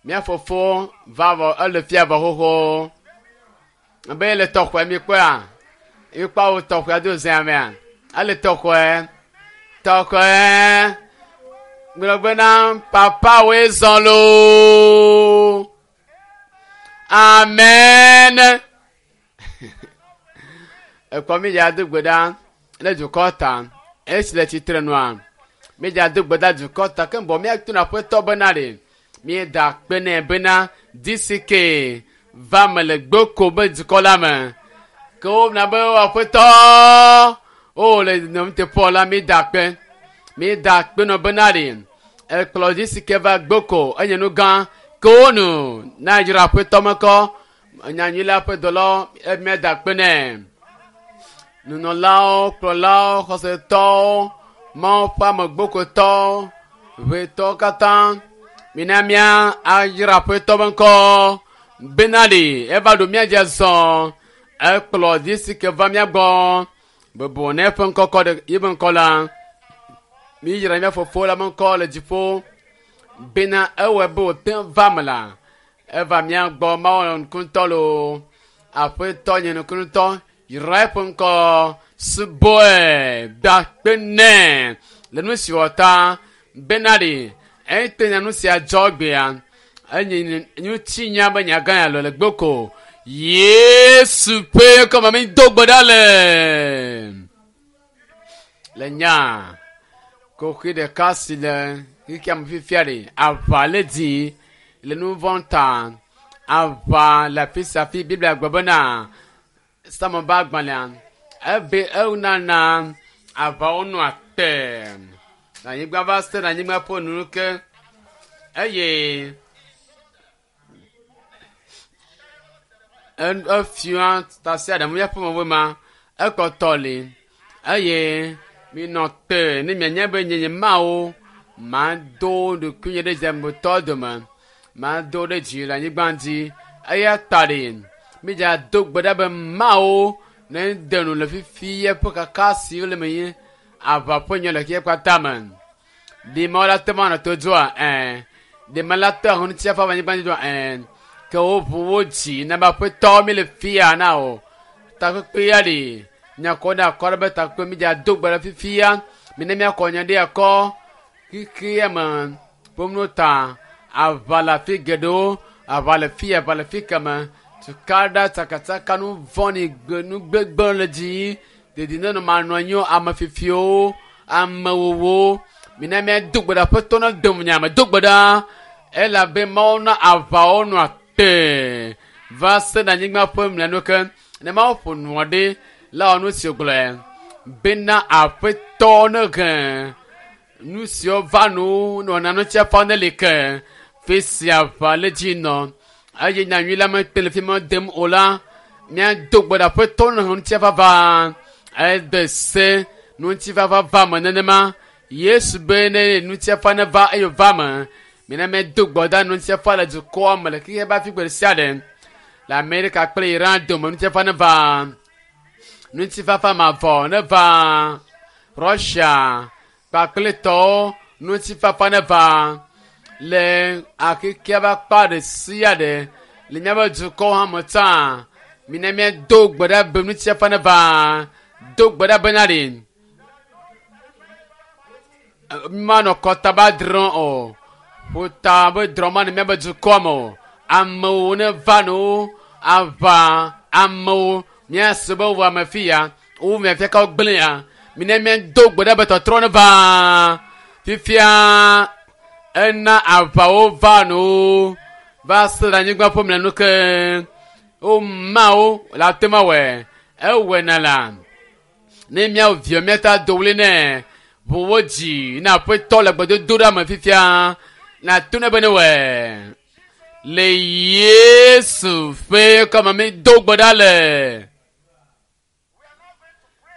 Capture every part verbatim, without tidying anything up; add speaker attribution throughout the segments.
Speaker 1: Mía fofo va vɔ ele fia vɔ xoxo. Ebe ele tɔxɔe mi kpɔa? Mi kpɔ awu tɔxɔe do zea mea? Ele tɔxɔe. Tɔxɔe. Gblɔ bena papa woe zɔ loo. Amen. Ekpɔ mi dza do gbe ɖa le dukɔ ta. Esi le tsitre nua. Mi dza do gbe ɖa dukɔ ta ke bɔ míato na aƒetɔ bena ɖe. Míeda akpe nɛ bena DCK va me le gboko be dukɔ la me. Ke wona be aƒetɔ o le nɔmteƒe la míeda akpe. Míeda akpe nɔ bena ɖe. Ekplɔ DCK va gboko enye nu gã ke wonu na dzra aƒetɔ me kɔ. Nyanyui la ƒe dɔlawo míeda akpe nɛ. Nunɔlawo, kplɔlawo, xɔsetɔwo, Mawu ƒe ame gbokotɔwo, ʋetɔwo katã mina mía ayra aƒetɔ be ŋkɔ bena ɖe eva ɖo mía dzi azɔ ekplɔ DCK va mía gbɔ bebɔ ne eƒe ŋkɔ kɔ ɖe yibe ŋkɔ la míyra mía fofo la be ŋkɔ le dziƒo bena ewɔe be wòte va me la eva mía gbɔ Mawu nukutɔ loo aƒetɔ nye nukutɔ yra eƒe ŋkɔ subɔe da akpe nɛ le nu si wɔ ta bena ɖe ete nya nu sia dzɔ gbea enye ŋutinya be nya gã ya le gboko Yesu ƒe ŋkɔme mi do gbe ɖa le le nya koxi ɖeka si le xexea me fifia ɖe aʋa le dzi le nu vɔ̃ ta aʋa le afi sia afi Biblia gblɔ bena Psalm be agbalẽa ebe enana aʋawo nɔa te le anyigba va se ɖe anyigba ƒe nu ke eye efia tasiaɖam míaƒe me ma ekɔtɔ li eye minɔ te ne mianya be nye nye Mawu mado ɖokuinye ɖe dziametɔ dome mado ɖe dzi le anyigba dzi eya ta ɖe mídza do gbe ɖa be Mawu ne de nu le fifi eƒe kaka si le me yi aʋa ƒe nye le xexea katã me. Ɖe Mawu la te ma nɔ to dzoa ɛɛ ɖe ma la te ahɔn ŋuti afa anyigba dzi dzoa ɛɛ ke woʋu wo dzi na be aƒetɔ mi le fia na o takpekpe ya ɖe miakɔ ɖe akɔ ɖe be takpekpe mi dza do gbe ɖe fifia mi ne miakɔ nya ɖe akɔ xexea me ƒomno ta aʋa le afi geɖewo aʋa le fi aʋa le fi keme tukaɖa tsakatsaka nu vɔ̃ɖi gbe nu gbegblẽ le dzi dedinɔnɔ manɔ anyi o ame fifiwo amewowo mina míado gbe ɖe aƒetɔ na dom nya me do gbe ɖa elabe Mawu na aʋawo nɔa te va se ɖe anyigba ƒe mlɔenu ke ne Mawu ƒo nua ɖe la wɔ nu si wògblɔe bena aƒetɔ ne he nu siwo va nu nɔna nu tia fa ne li ke fi sia aʋa le dzi nɔ eye nyanyui la mete le fi ma dem o la míado gbe ɖe aƒetɔ ne he ŋutifafa ede se ŋutifafa va me nenema Yesu be ne ŋutifafa ne va eye wòva me mina míado gbe ɖa ŋutifafa le dukɔa me le xexea ƒe afi gbe ɖe sia ɖe le Amerika kple Iran dome ŋutifafa ne va ŋutifafa mavɔ ne va Russia kpakple tɔwo ŋutifafa ne va le axexea ƒe akpa ɖe sia ɖe le míaƒe dukɔwo hã me tsã mina míado gbe ɖa be ŋutifafa ne va do gbe ɖa bena ɖe manɔ kɔta ba drɔ̃ o ƒota be drɔ̃ ma ne míaƒe dukɔa me o amewo ne va no aʋa amewo míase be wɔ ame fi ya wo mia fia ka gblẽ ya mina míado gbe ɖa be tɔtrɔ ne va fifia ena aʋawo va no va se ɖe anyigba ƒe mlɔenu ke woma wo le ate ma wɔe ewɔe na la ne míawo viwo míata do ɣli nɛ ʋu wo dzi na aƒetɔ le gbedodo ɖa me fifia na to ne be ne wɔe le Yesu ƒe ŋkɔme mi do gbe ɖa le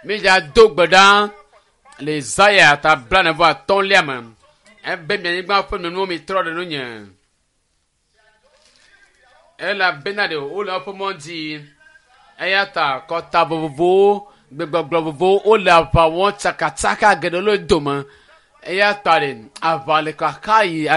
Speaker 1: mídza do gbe ɖa le Isaya ta blaene vɔ atɔ̃lia me ebe mianyigba ƒe nunuwo mi trɔ ɖe nunye elabena ɖe wole woƒe mɔ dzi eya ta kɔta vovovowo gbegbɔgblɔ vovovowo wole aʋa wɔm tsakatsaka geɖewo le dome eya ta ɖe aʋa le kaka yi